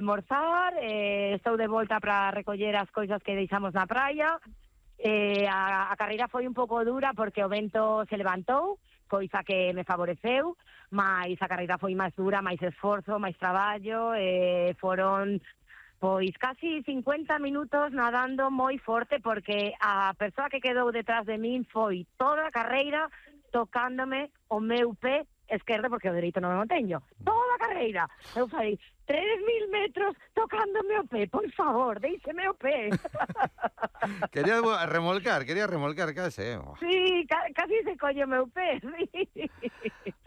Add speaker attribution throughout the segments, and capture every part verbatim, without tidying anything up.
Speaker 1: almorzar, eh, estou de volta para recoller as cousas que deixamos na praia. Eh, a, a carreira foi un pouco dura porque o vento se levantou, coisa que me favoreceu, mas a carreira foi máis dura, máis esforzo, máis traballo, eh, foron pois casi cincuenta minutos nadando moi forte porque a persoa que quedou detrás de min foi toda a carreira tocándome o meu pé esquerdo porque o dereito non o teño. Toda a carreira. Eu falei, tres mil metros tocándome o pé, por favor, déixeme o pé.
Speaker 2: Quería remolcar, quería remolcar case. Eh?
Speaker 1: Sí, ca casi se colle o meu pé, sí.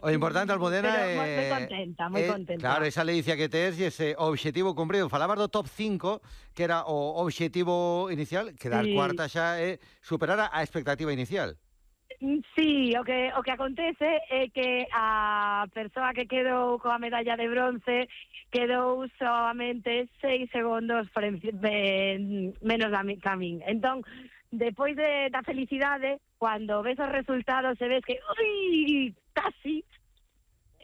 Speaker 2: O importante, Almudena,
Speaker 1: é...
Speaker 2: Eh,
Speaker 1: moi contenta, moi
Speaker 2: eh,
Speaker 1: contenta.
Speaker 2: Claro, esa ledicia que tes e ese obxectivo cumprido. Falabas do top cinco, que era o obxectivo inicial, quedar sí. cuarta xa é eh, superar a expectativa inicial.
Speaker 1: Sí, o que o que acontece é que a persoa que quedou coa medalla de bronce quedou solamente seis segundos por en, menos da min. Entón, depois de, da felicidade, cando ves os resultados e ves que ui, casi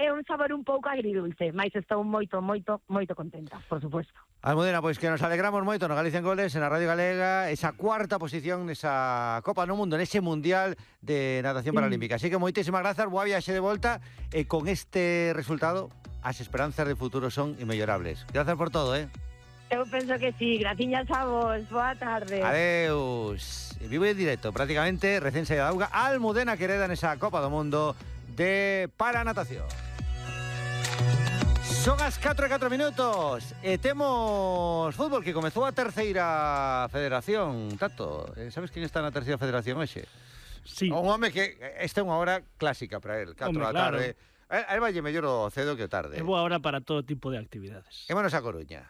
Speaker 1: é un sabor un pouco agridulce, mas estou moito, moito, moito contenta, por suposto.
Speaker 2: Almudena, pois que nos alegramos moito no Galicia en Goles, en a Radio Galega, esa cuarta posición nesa Copa no Mundo, nese Mundial de Natación Paralímpica. Así que moitísimas grazas, boa viaxe de volta, e con este resultado as esperanzas de futuro son inmellorables. Grazas por todo, eh?
Speaker 1: Eu penso que sí, graciñas a vos, boa tarde.
Speaker 2: Adeus. Vivo en directo, prácticamente, recén saída da auga, Almudena Quereda nesa Copa do Mundo de Paranatación. Son as catro e catro minutos e temos fútbol que comezou a terceira federación. Tato, sabes quen está na terceira federación hoxe?
Speaker 3: Sí.
Speaker 2: Un home que esta é unha hora clásica para él, catro da tarde. Claro. A él valle mellor o cedo que o tarde.
Speaker 3: É boa hora para todo tipo de actividades.
Speaker 2: Émonos a Coruña.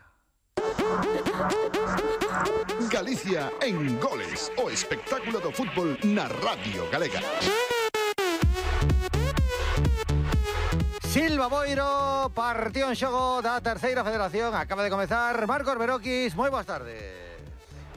Speaker 4: Galicia en Goles, o espectáculo do fútbol na Radio Galega.
Speaker 2: Silva Boiro, partido en xogo da terceira federación. Acaba de comezar Marcos Beroquis. Moi boas tardes.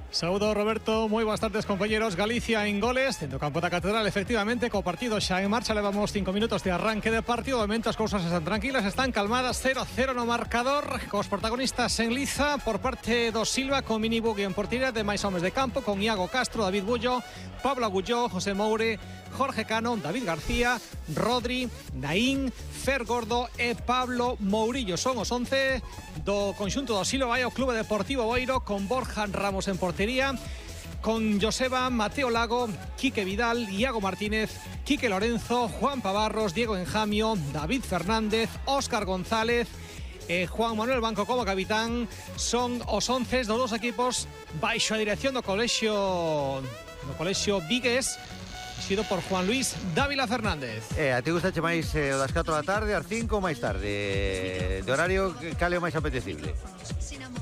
Speaker 5: Saúdo, Roberto, moi boas tardes, compañeros. Galicia en Goles, dentro do campo da Catedral, efectivamente, co partido xa en marcha. Levamos cinco minutos de arranque de partido. De momento as cousas están tranquilas, están calmadas. Cero a cero no marcador, cos protagonistas en liza por parte do Silva, con Mini Bugui en portería, de máis homes de campo, con Iago Castro, David Bullo, Pablo Agulló, José Moure, Jorge Cano, David García, Rodri, Naín, Fer Gordo e Pablo Mourillo. Son os once do conxunto do Silva. Vai ao Clube Deportivo Boiro, con Borja Ramos en portería, con Joseba, Mateo Lago, Quique Vidal, Iago Martínez, Quique Lorenzo, Juan Pavarros, Diego Enjamio, David Fernández, Óscar González e Juan Manuel Banco como capitán. Son os once dos dos equipos baixo a dirección do colexio do colexio Vigues, sido por Juan Luis Dávila Fernández.
Speaker 2: Eh, a ti gustache máis eh, o das catro da tarde, ás cinco ou máis tarde? De horario, cal é o máis apetecible?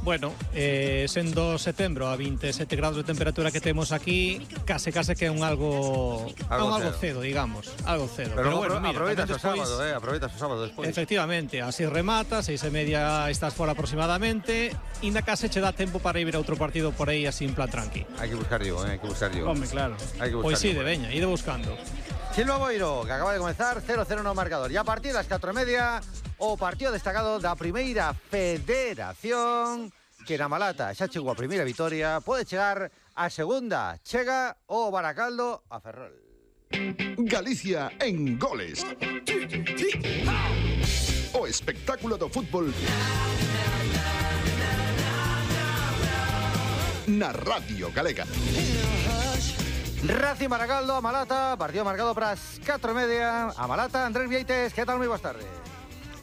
Speaker 5: Bueno, eh, sendo setembro a veintisiete grados de temperatura que temos aquí, case case que é un algo
Speaker 2: algo,
Speaker 5: un algo cedo, digamos, algo cedo.
Speaker 2: Pero,
Speaker 5: Pero bueno, mira,
Speaker 2: aproveitas o
Speaker 5: despois,
Speaker 2: sábado, eh, aproveitas o sábado despois.
Speaker 5: Efectivamente, así remata, seis e media estás fora aproximadamente, inda case che dá tempo para ir a outro partido por aí así en plan tranqui.
Speaker 2: Hai que buscar yo, eh, hai que buscar yo.
Speaker 5: Home, claro.
Speaker 2: Hai que buscar.
Speaker 5: Pois sí, de veña, ide buscando.
Speaker 2: Silva Boiro, que acaba de comenzar, cero cero no marcador. E a partir das catro e media, o partido destacado da primeira federación, que na Malata xa chegou a primeira vitoria, pode chegar a segunda. Chega o Baracaldo a Ferrol.
Speaker 4: Galicia en Goles, o espectáculo do fútbol na Radio Galega.
Speaker 2: Racing Baracaldo a Malata, partido marcado para as catro e media. A Malata, Andrés Vieites, que tal? Moi boas tardes.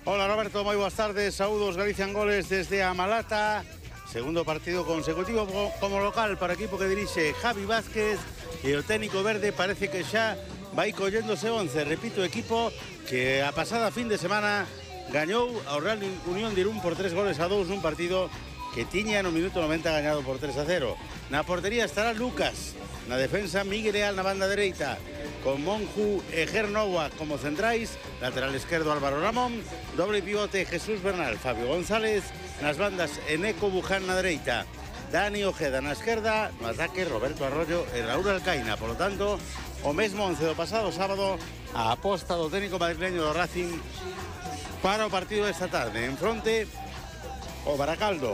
Speaker 6: Hola Roberto, moi boas tardes. Saúdos, Galicia en Goles desde a Malata. Segundo partido consecutivo como local para o equipo que dirixe Javi Vázquez, e o técnico verde parece que xa vai colléndose once. Repito, equipo que a pasada fin de semana gañou ao Real Unión de Irún por tres goles a dous nun partido que tiña no minuto noventa gañado por tres a cero. Na portería estará Lucas, na defensa Miguel Leal na banda dereita, con Monju e Gernova como centrais, lateral esquerdo Álvaro Ramón, doble pivote Jesús Bernal, Fabio González, nas bandas Eneco Buján na dereita, Dani Ojeda na esquerda, no ataque Roberto Arroyo e Raúl Alcaina. Por lo tanto, o mesmo once do pasado sábado, a aposta do técnico madrileño do Racing para o partido desta tarde. En fronte, o Baracaldo,